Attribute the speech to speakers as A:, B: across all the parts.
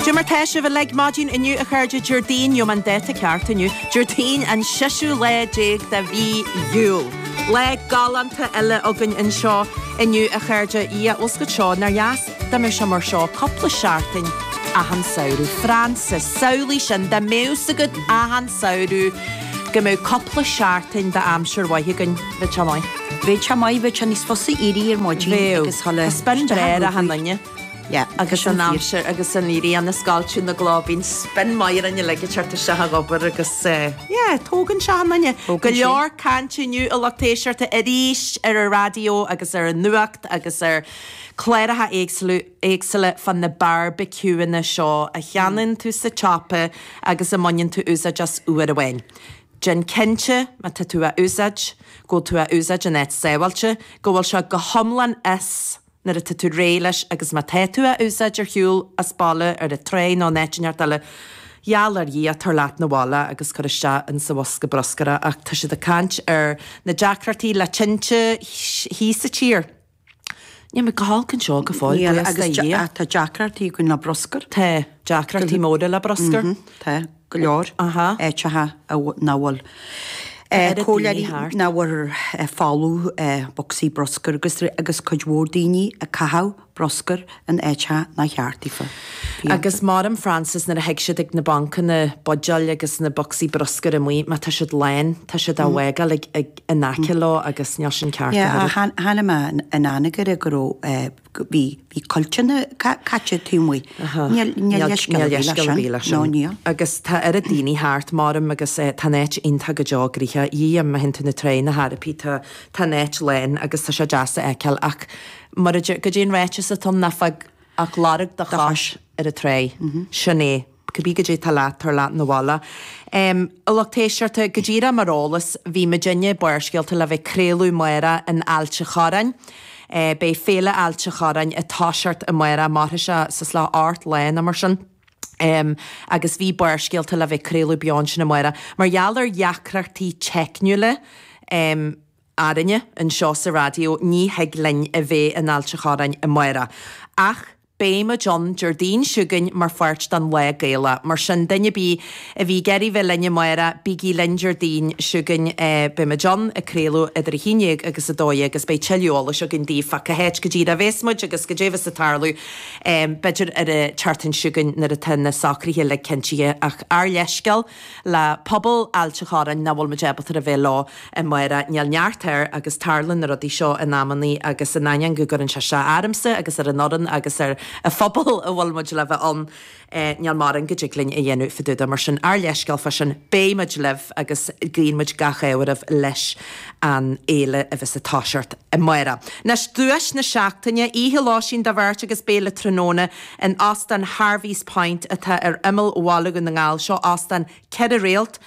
A: Cad é mar tá sibh uilig maidin inniu a chairde Déardaoin, gheobhaidh mé an dáta ceart inniu, Déardaoin an seisiú lá déag de mhí Iúil. Lá galánta eile againn anseo inniu a chairde. Dhia, bhfuil 's agat seo, nár dheas dá mbeadh sé mar seo cúpla seachtain achan samhradh. Frances, samhlaigh sin, dá mbeadh 's agat achan samhradh go mbeadh cúpla seachtain d'aimsir mhaith againn, bheadh sé maith.
B: Bheadh sé maith, bheadh sé níos fusa éirí ar maidin
A: Bheadh.
B: agus dhul
A: Tá spion
B: isteach
A: breá
B: ar
A: ar achan
B: obair.
A: duine.
B: Yeah,
A: Agus
B: sin
A: an
B: fíor.
A: aimsir agus an éirí an oscailte na gcló, bíonn spion maith orainn uilig ag teacht isteach ag obair agus eh, yeah, tógann sé achan duine. Go
B: Tógann sé.
A: leor cainte inniu a lucht éisteachta arís ar an raidió agus ar an nuacht agus ar cláracha éagsúla éagsúla fá na barbecueanna seo a cheannaíonn tú sa tsiopa agus a mbaineann tú úsáid as uair amháin. Déan cinnte, má tá tú á úsáid, go bhfuil tú á úsáid in áit sábháilte, go bhfuil sé go hiomlán as nuair atá tú réidh leis agus má tá tú á úsáid ar shiúl as baile, ar an tráigh nó in áit inteacht eile, gheall ar Dhia, tabhair leat 'na bhaile agus cuir isteach insa bhosca bruscair é. Ach tá siad ag caint ar na deacrachtaí le tinte thíos sa tír. Níl muid go holc anseo go fóill,
B: Níl,
A: buíochas
B: agus
A: do Dhia.
B: tá deacrachtaí againn le bruscar.
A: Tá, deacrachtaí móra le bruscar.
B: Tá, go leor
A: Aha.
B: áiteacha nach bhfuil
A: Tá oiread daoine
B: comhairleoirí
A: thart.
B: nach bhfuil folamh bocsaí bruscair agus agus cuid mhór daoine ag caitheamh bruscair in áiteacha nár cheart daofa.
A: Agus maram Frances nuair a thig siad ag na bancanna buidéil agus na bocsaí bruscair amuigh, má tá siad lán, tá siad á bhfágáil ag ag in aice leo agus níl sin ceart
B: Yeah,
A: a thuilleadh.
B: chonaic mé in Anagaire go raibh, bhí, bhí cuilteanna caite taobh amuigh. Níl, níl leithscéal ar bith leis sin.
A: leis sin.
B: No, níl.
A: Agus tá oiread daoine thart, maram, agus tá an áit iontach go deo gnoitheach. Dhia, má théann tú na tráigh na hArapaí, tá, tá an áit lán agus tá sé deas a fheiceáil ach mar a deir, goidé an ráiteas atá ann, ná fág ach lorg do chos ar an tráigh. Sin é. Cibé goidé tá leat, tabhair leat 'na bhaile. A lucht éisteachta, go díreach mar eolas, bhí muidinne, Barrscéalta, le bheith ag craoladh amárach in Ailt a' Chorráin. Beidh Féile Ailt a' Chorráin ag toiseacht amárach, mairfidh sé suas le hocht lá nó mar sin. Agus bhí Barrscéalta le bheith ag craoladh beo ansin amárach. Mar gheall ar dheacrachtaí teicniúla, orainne anseo sa raidió, ní thig linn a bheith in Ailt a' Chorráin amárach. Ach beidh muid ann Déardaoin seo chugainn mar pháirt den Lá Gaelach. Mar sin, duine ar bith a bhí ag iarraidh bheith linn amárach, bígí linn Déardaoin seo chugainn. Beidh muid ann ag craoladh idir 11 agus 12 agus beidh tuilleadh eolais againn daoibh fá cá háit go díreach a bheas muid agus goidé a bheas ag tarlú, b'fhéidir ar an tseachtain seo chugainn nuair atá na socruithe uilig cinntithe. Ach ár leithscéal le pobal Ailt a' Chorráin nach bhfuil muid ábalta a bheith leo amárach. Níl neart air agus tarlaíonn na rudaí seo in amannaí agus in ainneoin go gcuireann sé isteach ormsa agus ar an fhoireann agus ar an phobal a bhfuil muid le bheith ann, níl mórán go dtig linn a dhéanamh fá dtaobh de. Mar sin, ár leithscéal fá sin, beidh muid libh agus guíonn muid gach ádh oraibh leis an fhéile a bheas ag toiseacht amárach. Anois, duais na seachtaine, oíche lóistín do bheirt agus béile tráthnóna in Óstán Harvey's Point atá ar imeall Bhaile Dhún na nGall. Seo óstán 4 réalt.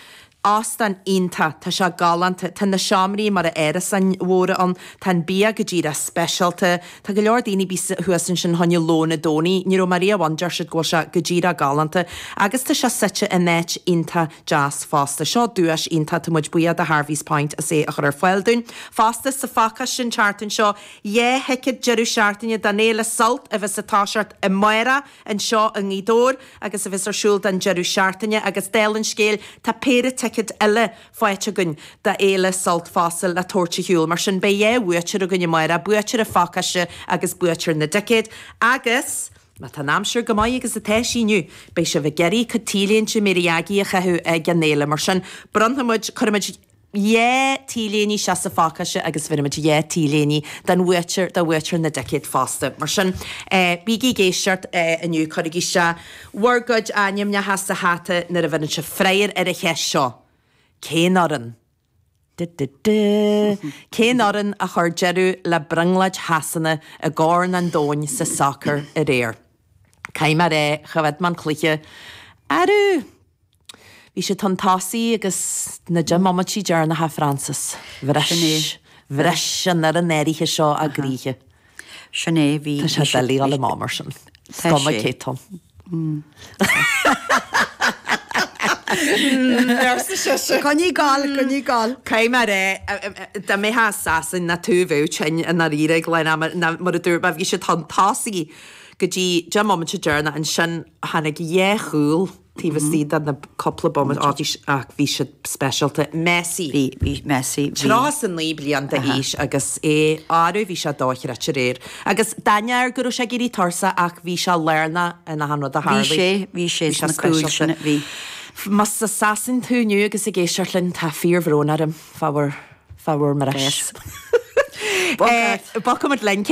A: Óstán iontach. Tá sé galánta. Tá na seomraí mar árasáin mhóra ann. Tá an bia go díreach speisialta. Tá go leor daoine a bhí thuas ansin choinne lón an Domhnaigh. Ní raibh mé riamh ann, deir siad go bhfuil sé go díreach galánta. Agus tá sé suite in áit iontach deas fosta. Seo duais iontach. Tá muid buíoch do Harvey's Point as é a chur ar fáil dúinn. Fosta, sa phacáiste an tseachtain seo, 2 thicéad deireadh seachtaine don Fhéile Sult a bheas ag toiseacht amárach anseo i nGaoth Dobhair agus a bheas ar siúl don deireadh seachtaine agus dála an scéil tá péire ticéad eile faighte againn do Fhéile Sult fosta le tabhairt ar shiúl. Mar sin beidh 2 bhuaiteoir againn amárach, buaiteoir an phacáiste agus buaiteoir na dticéad agus má tá an aimsir go maith agus atá sí inniu beidh sibh ag iarraidh cuid T-léinte Mary Aggie a chaitheamh ag an fhéile. Mar sin bronnfaidh muid, cuirfidh muid 2 T-léine isteach sa phacáiste agus bhéarfaidh muid 2 T-léine don bhuaiteoir, do bhuaiteoir na dticéad fosta. Mar sin, bígí ag éisteacht inniu, cuirigí isteach bhur gcuid ainmneacha sa hata nuair a bheireann sibh freagra ar an cheist seo, Cén fhoireann? Du-du-du! Cén fhoireann a chuir deireadh le brionglóid Shasana i gCorn an Domhain sa sacar aréir? Caithfidh mé a rá, choimhéad mé an cluiche. Arú! Bhí siad chun tosaigh agus na 10 mbomaití deireanacha Frances. Bhris, bhris an fhoireann áirithe seo a gcroíthe.
B: Sin é, bhí.
A: Tá sé doiligh dul amach mar sin. Is cuma cé tú. Arsa sise.
B: Coinnigh ag gabháil, coinnigh ag gabháil.
A: Caithfidh mé a rá, dá mbeifeá i Sasain ná tú a bheadh tinn i ndáiríre ag lán ama, ná mar a dúirt mé, bhí siad chun tosaigh. Go dtí 10 mbomaite deireanach ansin tháinig dhá chúl taobh istigh de na cúpla bomaite, á bhí, ach bhí siad speisialta. Messi.
B: Bhí, bhí Messi,
A: bhí. 39 bliain d'aois agus é, arú bhí sé dochreidte aréir. Agus d'ainneoin go raibh sé ag éirí tuirseach ach bhí sé lárnach in achan rud a
B: tharlaigh. Bhí sé, bhí sé sna cúil sin, bhí.
A: Más i Sasain tú inniu agus ag éisteacht linn, tá fíorbhrón orm fá bhur, fá bhur mbris. Bogfaimid linn.